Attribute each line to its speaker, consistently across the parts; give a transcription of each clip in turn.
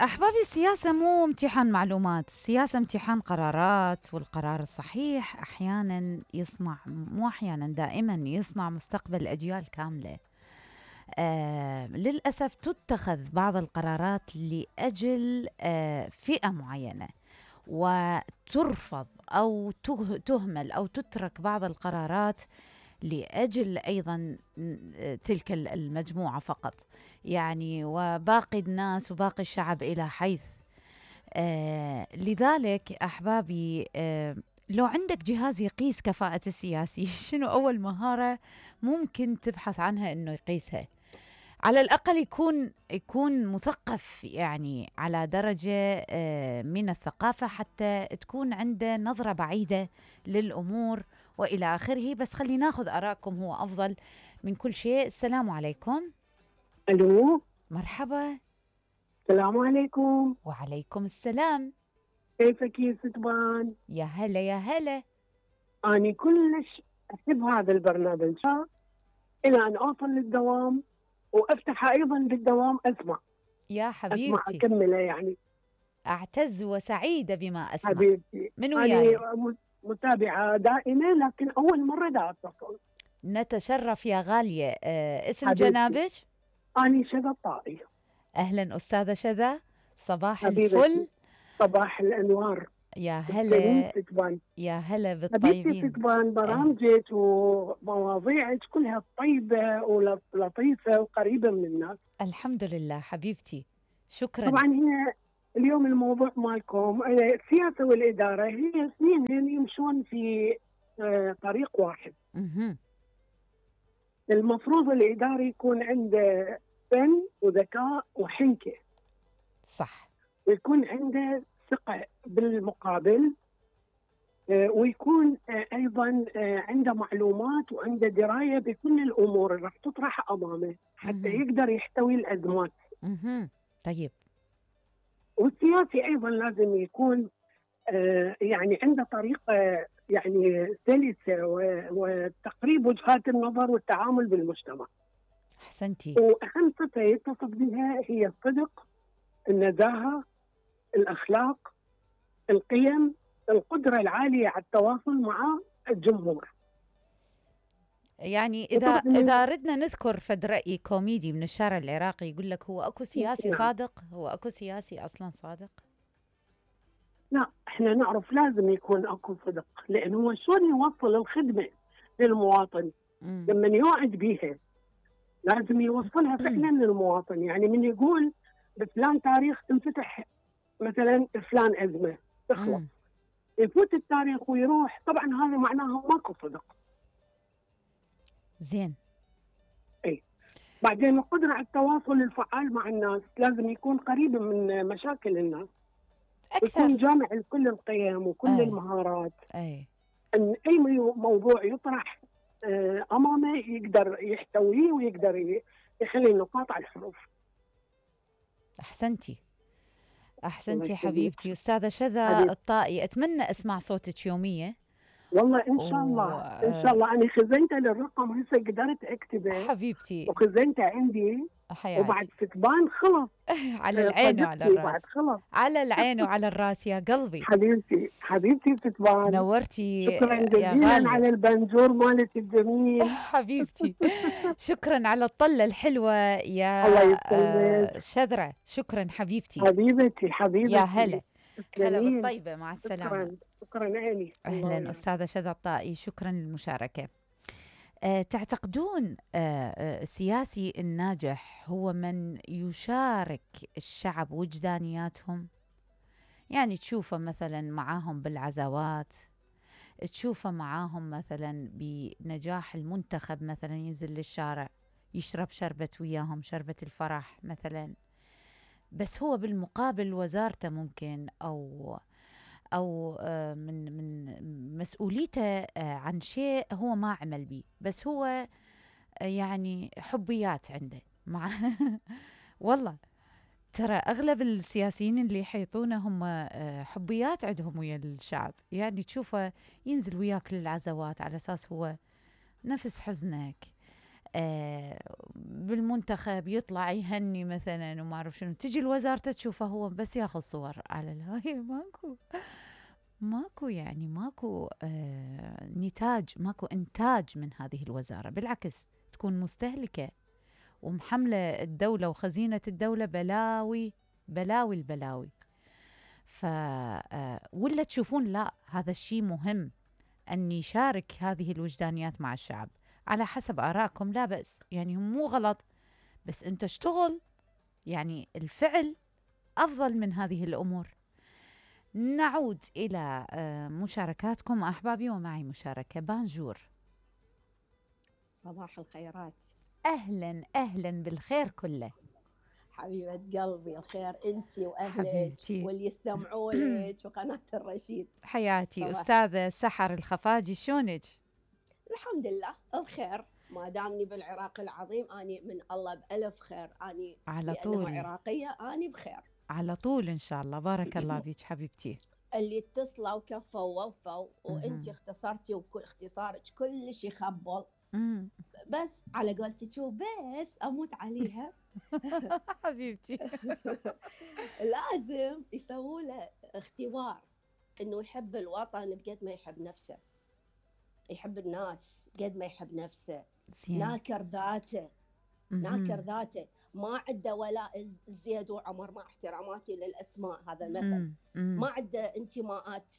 Speaker 1: أحبابي، السياسة مو امتحان معلومات، السياسة امتحان قرارات، والقرار الصحيح أحيانا يصنع، مو أحيانا، دائما يصنع مستقبل أجيال كاملة. للأسف تتخذ بعض القرارات لأجل فئة معينة، وترفض أو تهمل أو تترك بعض القرارات لأجل أيضا تلك المجموعة فقط، يعني وباقي الناس وباقي الشعب إلى حيث. لذلك أحبابي، لو عندك جهاز يقيس كفاءة السياسي، شنو أول مهارة ممكن تبحث عنها إنه يقيسها؟ على الأقل يكون مثقف، يعني على درجة من الثقافة، حتى تكون عنده نظرة بعيدة للأمور وإلى آخره. بس خلي ناخذ آراءكم، هو أفضل من كل شيء. السلام عليكم.
Speaker 2: ألو،
Speaker 1: مرحبا.
Speaker 2: السلام عليكم.
Speaker 1: وعليكم السلام.
Speaker 2: كيفك يا ستبان؟
Speaker 1: يا هلا يا هلا.
Speaker 2: أنا كلش أحب هذا البرنامج إلى أن أوصل للدوام وأفتح أيضا بالدوام أسمع.
Speaker 1: يا حبيبتي،
Speaker 2: أسمع أكمله يعني.
Speaker 1: أعتز وسعيدة بما أسمع.
Speaker 2: حبيبتي،
Speaker 1: من وياي؟
Speaker 2: أنا متابعة دائمة، لكن أول مرة دا أتصل.
Speaker 1: نتشرف يا غالية. اسم
Speaker 2: حبيبتي.
Speaker 1: جنابك؟
Speaker 2: أنا شذا الطائي.
Speaker 1: أهلا أستاذة شذا، صباح
Speaker 2: حبيبتي.
Speaker 1: الفل.
Speaker 2: صباح الأنوار.
Speaker 1: يا هلا يا هلا
Speaker 2: حبيبتي
Speaker 1: بالطيبين.
Speaker 2: ستبان، برامجك ومواضيعك كلها طيبة ولطيفة وقريبة من الناس.
Speaker 1: الحمد لله حبيبتي، شكرا.
Speaker 2: طبعا هي اليوم الموضوع مالكم السياسة والإدارة، هي اثنين يمشون في طريق واحد. المفروض الإداري يكون عنده فن وذكاء وحنكة،
Speaker 1: صح،
Speaker 2: ويكون عنده ثقة بالمقابل، ويكون أيضا عنده معلومات وعنده دراية بكل الأمور اللي راح تطرح أمامه حتى يقدر يحتوي الأزمات.
Speaker 1: طيب.
Speaker 2: والسياسي أيضا لازم يكون يعني عنده طريقة يعني سلسة وتقريب وجهات النظر والتعامل بالمجتمع.
Speaker 1: أحسنتي.
Speaker 2: وأهم صفة يتصف بها هي الصدق، النزاهة، الأخلاق، القيم، القدرة العالية على التواصل مع الجمهور.
Speaker 1: يعني إذا ردنا نذكر فد رأي كوميدي من الشارع العراقي يقول لك: هو أكو سياسي صادق؟ هو أكو سياسي أصلا صادق؟
Speaker 2: لا، احنا نعرف لازم يكون اكو صدق، لانه هو شلون يوصل الخدمه للمواطن. لما يوعد بيها لازم يوصلها فعلا للمواطن. يعني من يقول بفلان تاريخ تنفتح مثلا فلان ازمه تخلص، يفوت التاريخ ويروح، طبعا هذا معناها ماكو صدق.
Speaker 1: زين.
Speaker 2: اي بعدين القدره على التواصل الفعال مع الناس، لازم يكون قريب من مشاكل الناس
Speaker 1: أكثر،
Speaker 2: يكون جامع لكل القيم وكل المهارات.
Speaker 1: أن
Speaker 2: أي موضوع يطرح أمامه يقدر يحتويه ويقدر يخلي النقاط على الحروف.
Speaker 1: أحسنتي حبيبتي. أستاذة شذا الطائي، أتمنى أسمع صوتك يوميا.
Speaker 2: والله إن شاء الله إن شاء الله. أنا خزنته للرقم هسه قدرت أكتبه
Speaker 1: حبيبتي،
Speaker 2: وخزنته عندي
Speaker 1: حياتي.
Speaker 2: وبعد ستبان خلص
Speaker 1: على العين وعلى الراس.
Speaker 2: خلص.
Speaker 1: على العين وعلى الراس يا قلبي.
Speaker 2: حبيبتي ستبان،
Speaker 1: نورتي.
Speaker 2: شكرا جزيلا على البنجور مالك الجميل.
Speaker 1: حبيبتي، شكرا على الطلة الحلوة يا شذرة. شكرا حبيبتي.
Speaker 2: حبيبتي
Speaker 1: يا هلا بالطيبة. مع السلامة.
Speaker 2: شكرا عيني.
Speaker 1: أهلا أستاذة شذا الطائي، شكرا للمشاركة. تعتقدون السياسي الناجح هو من يشارك الشعب وجدانياتهم؟ يعني تشوفه مثلا معاهم بالعزوات، تشوفه معاهم مثلا بنجاح المنتخب، مثلا ينزل للشارع يشرب شربة وياهم، شربة الفرح مثلا، بس هو بالمقابل وزارته ممكن أو من مسؤوليته عن شيء هو ما عمل به، بس هو يعني حبيات عنده مع والله ترى أغلب السياسيين اللي يحيطونه هم حبيات عندهم ويا الشعب. يعني تشوفه ينزل وياك للعزوات على أساس هو نفس حزنك، بالمنتخب يطلع يهني مثلا وما اعرف شنو، تجي الوزارة تشوفه هو بس ياخذ صور على الهاي. ماكو يعني ماكو نتاج، ماكو انتاج من هذه الوزارة، بالعكس تكون مستهلكة ومحملة الدولة وخزينة الدولة بلاوي بلاوي البلاوي. ولا تشوفون لا هذا الشيء مهم أن يشارك هذه الوجدانيات مع الشعب على حسب آرائكم، لا بأس، يعني هم مو غلط، بس أنت اشتغل، يعني الفعل أفضل من هذه الأمور. نعود إلى مشاركاتكم أحبابي، ومعي مشاركة. بانجور.
Speaker 3: صباح الخيرات.
Speaker 1: أهلا أهلا بالخير كله.
Speaker 3: حبيبة قلبي، الخير أنتي وأهلك
Speaker 1: حبيبتي
Speaker 3: واللي يستمعوا لك وقناة الرشيد.
Speaker 1: حياتي أستاذة سحر الخفاجي، شلونك؟
Speaker 3: الحمد لله بخير، ما دامني بالعراق العظيم أني من الله بألف خير، أني
Speaker 1: على
Speaker 3: لأنه
Speaker 1: طول
Speaker 3: عراقية أني بخير
Speaker 1: على طول إن شاء الله. بارك الله بيك حبيبتي.
Speaker 3: اللي اتصلوا وكفوا ووفوا، وأنتي اختصرتي وكل اختصارك كل شيء خبل، بس على قولتك بس أموت عليها.
Speaker 1: حبيبتي
Speaker 3: لازم يسووا له اختبار انه يحب الوطن بقد ما يحب نفسه، يحب الناس قد ما يحب نفسه. ناكر ذاته، ناكر ذاته، ما عنده ولاء زيد وعمر، مع احتراماتي للاسماء هذا المثل، ما عنده انتماءات،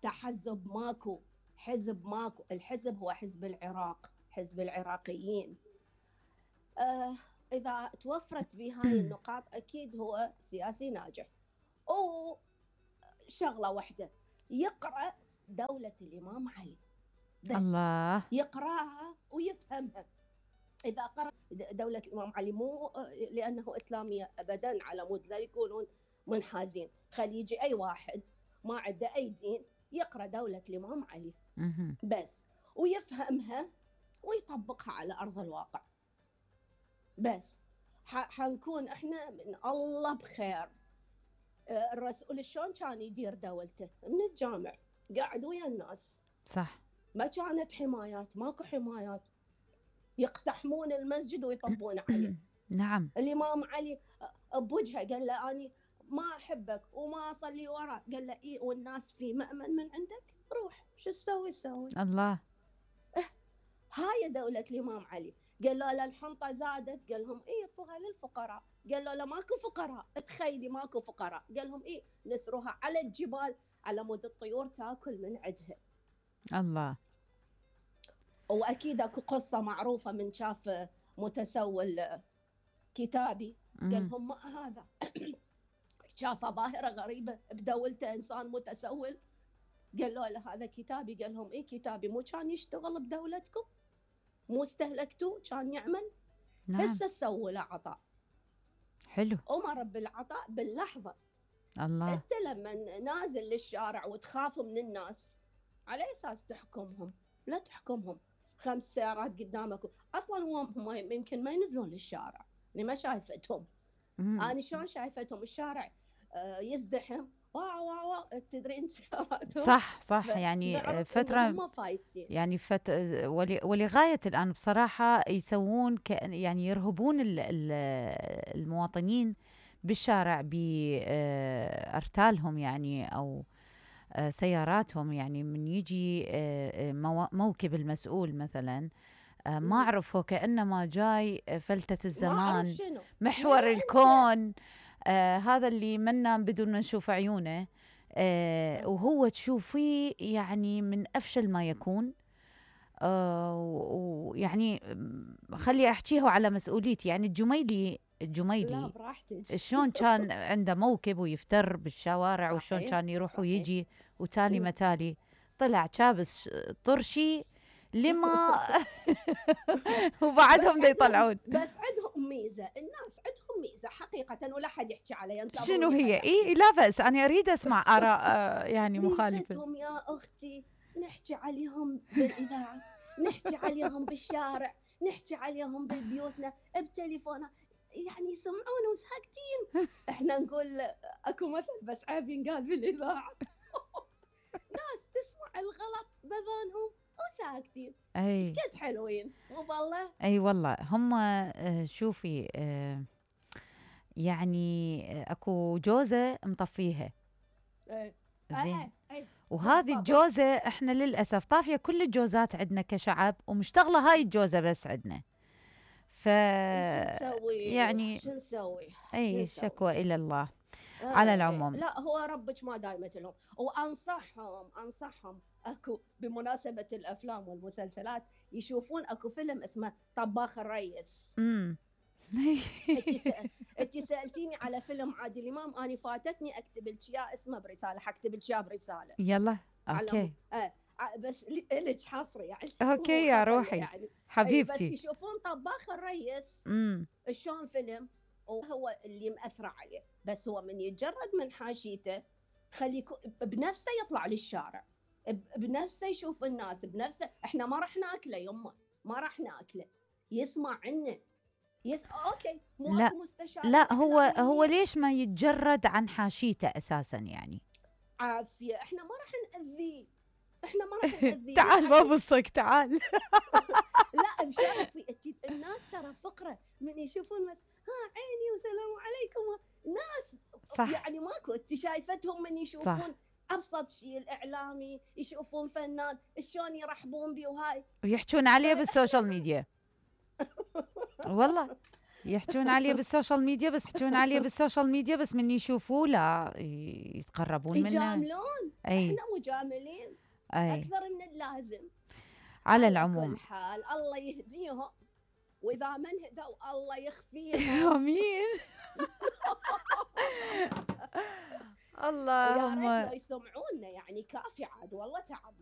Speaker 3: تحزب ماكو، حزب ماكو. الحزب هو حزب العراق، حزب العراقيين. إذا توفرت بهاي النقاط أكيد هو سياسي ناجح. وشغلة واحدة، يقرأ دولة الإمام علي بس. الله. يقرأها ويفهمها. إذا قرأ دولة الإمام علي، مو لأنه إسلامية أبدا على مود لا يكونون منحازين، خلي يجي أي واحد ما عنده أي دين يقرأ دولة الإمام علي بس ويفهمها ويطبقها على أرض الواقع، بس حنكون احنا من الله بخير. الرسول شلون كان يدير دولته؟ من الجامع، قاعد ويا الناس، صح، ما كانت حمايات، ماكو حمايات، يقتحمون المسجد ويطبون عليه. نعم. الإمام علي بوجهه قال له أني ما أحبك وما أصلي وراك، قال له إيه والناس في مأمن من عندك، روح شو تسوي. الله. هاي دولة الإمام علي. قال له لا الحنطة زادت، قال لهم إيه اعطوها للفقراء. قال له لا ماكو فقراء، تخيلي ماكو فقراء، قال لهم إيه نثروها على الجبال على مود الطيور تاكل من عدها. الله. وأكيد أكو قصة معروفة من شاف متسول كتابي، قال لهم ما هذا شاف ظاهرة غريبة بدولته، إنسان متسول، قال له هذا كتابي. قال لهم إيه كتابي؟ مو كان يشتغل بدولتكم؟ مو استهلكتوه؟ كان يعمل. نعم. هسه سووا له عطاء حلو، أمر بالعطاء باللحظة. الله. أنت لما نازل للشارع وتخاف من الناس، على أساس تحكمهم؟ لا تحكمهم. 5 سيارات قدامك أصلا هم يمكن ما ينزلون للشارع، اللي ما شايفتهم. أنا شلون شايفتهم الشارع يزدحم، واو تدرين سياراتهم. صح يعني فترة يعني ولغاية الآن بصراحة يسوون يعني يرهبون المواطنين بالشارع بأرتالهم يعني أو سياراتهم. يعني من يجي موكب المسؤول مثلا، ما أعرفه كأنما جاي فلتة الزمان، محور الكون، هذا اللي منا بدون ما نشوف عيونه، وهو تشوفيه يعني من أفشل ما يكون. ويعني خلي أحكيه على مسؤوليتي. يعني الجميلي لا براحتك، شلون كان عنده موكب ويفتر بالشوارع، وشلون كان يروح ويجي وتالي متالي، طلع كابس طرشي لما وبعدهم دا يطلعون. بس عندهم ميزة، الناس عندهم ميزة حقيقة ولا حد يحكي عليها. شنو هي؟ إيه لا بأس، أنا أريد أسمع آراء يعني مخالفة. ميزتهم يا أختي نحكي عليهم بالإذاعة، نحكي عليهم بالشارع، نحكي عليهم بالبيوتنا بتليفوننا، يعني يسمعون وساكتين. احنا نقول اكو مثل بس عيب ينقال بالإذاعة. ناس تسمع الغلط بذانهم وساكتين.
Speaker 1: اي
Speaker 3: ايش قد حلوين مو بالله.
Speaker 1: اي والله هم شوفي يعني اكو جوزة مطفيها زين، وهذه الجوزة احنا للأسف طافية كل الجوزات عندنا كشعب، ومشتغلة هاي الجوزة بس عندنا. يعني
Speaker 3: شو نسوي؟
Speaker 1: اي الشكوى إلى الله. على العموم
Speaker 3: لا هو ربك ما دايمت لهم، وانصحهم اكو بمناسبة الافلام والمسلسلات يشوفون اكو فيلم اسمه طباخ الريس. انت سالتيني على فيلم عادل امام، اني فاتتني اكتب لك اياه اسمه برساله، حكتب لك اياه برساله.
Speaker 1: يلا اوكي.
Speaker 3: بس لك حصري يعني.
Speaker 1: اوكي يا روحي يعني. حبيبتي.
Speaker 3: بس يشوفون طباخ الريس شلون فيلم، وهو اللي مأثر عليه، بس هو من يتجرد من حاشيته خلي بنفسه يطلع للشارع، بنفسه يشوف الناس، بنفسه. احنا ما راح ناكله يمه، ما راح ناكله، يسمع عنا اوكي.
Speaker 1: لا لا هو ليش ما يتجرد عن حاشيته اساسا يعني؟
Speaker 3: عافيه، احنا ما راح نأذيه، احنا ما راح نأذيه.
Speaker 1: تعال ما بصك تعال.
Speaker 3: لا بشرفي، الناس ترى فقره من يشوفون بس عيني وسلام عليكم ناس
Speaker 1: صح.
Speaker 3: يعني ماكو، انت شايفتهم من يشوفون صح. ابسط شيء الاعلامي يشوفون فنان شلون يرحبون بيه وهاي،
Speaker 1: ويحجون عليه بالسوشيال ميديا. والله يحجون عليه بالسوشيال ميديا، بس يحجون عليه بالسوشيال ميديا بس من يشوفوه لا يتقربون منه،
Speaker 3: يجاملون. احنا مجاملين اكثر من اللازم.
Speaker 1: على العموم
Speaker 3: كل حال الله يهديهم، واذا ما انهدوا الله يخفيهم.
Speaker 1: امين. اللهم
Speaker 3: يا ريت لو يسمعونا يعني كافي عاد والله تعبنا.